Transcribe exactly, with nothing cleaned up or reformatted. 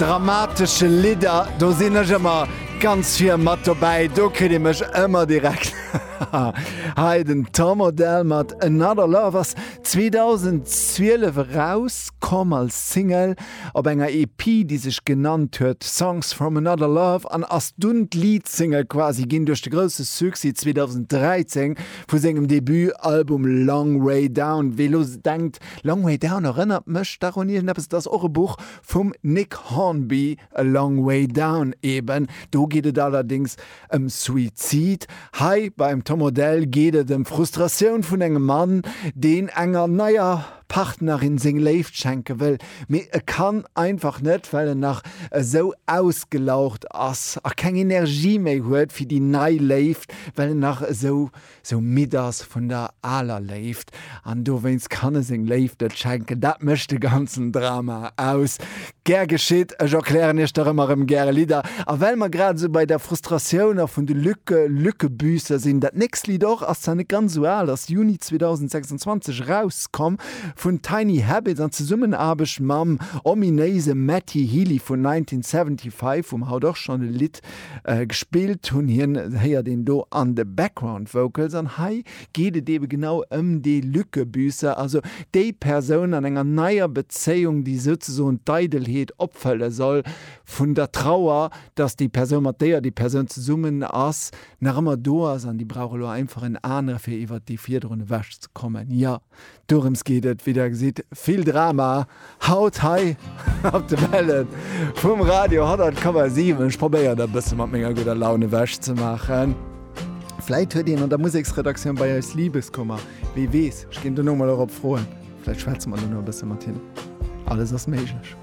Dramatesche Lidder, do sinn ech ëmmer ganz vir mat dobäi, do kritt Dir mech ëmmer direkt. Hei den Tom Odell mat Another Love ass zweedausendzwielef erauskomm als Single op enger E P, déi sech genannt huet Songs from Another Love, an ass dunn d'Lead-Single quasi ginn duerch de grousse Succès zweedausenddräizéng vu sengem Debutalbum Long Way Down. Wee lo denkt, Long Way Down erënnert mech dach un iergendeppes, et ass och e Buch vum Nick Hornby, A Long Way Down eben. Do geet et allerdéngs ëm Suizid. Hei beim Tom Odell geet et ëm Frustratioun vun engem Mann, deen enger neier Partnerin seng Léift schenke wëll, mee e kann einfach net, well en nach esou ausgelaugt ass a keng Energie méi huet fir déi nei Léift, well en nach esou sou midd ass vun der aler Léift an dowéinst kann e seng Léift net schenken. Dat mécht de ganzen Drama aus. Gär geschitt, ech erklären iech dach ëmmer erëm gäre Lidder. A well mer grad esou bei der Frustratioun a vun de Lücke, Lückebüßer sinn, dat nächst Lidd och ass zwar net ganz esou al, ass Juni zweedausendsechsundzwanzeg erauskomm vun Tiny Habits an Zesummenaarbecht mam ominéise Matty Healy vun nineteen seventy-five, wou mer haut och schonn e Lidd gespillt hunn. Hien héiert een do an de Background Vocals an hei geet et ebe genau ëm dee Lückebüßer, also déi Persoun an enger neier Bezéiung, déi souzesoen d'Eidelheet opfëlle soll vun der Trauer, dass déi Persoun, mat déier déi Persoun zesummen ass, nach ëmmer do ass an déi brauch elo einfach en anere fir iwwert déi virdrun ewech ze kommen. Jo, dorëms geet et, wéi der gesitt, vill Drama haut hei op de Welle vum Radio honnert Komma siwen. Ech probéieren e bësse mat menger gudder Laun ewech ze maachen. Vläit huet een an der Museksredaktioun bei eis Liebeskummer, wie weess, ech ginn duerno mol erop froen, vläicht schwätze mer duerno e bësse mat hinnen. Alles ass méiglech.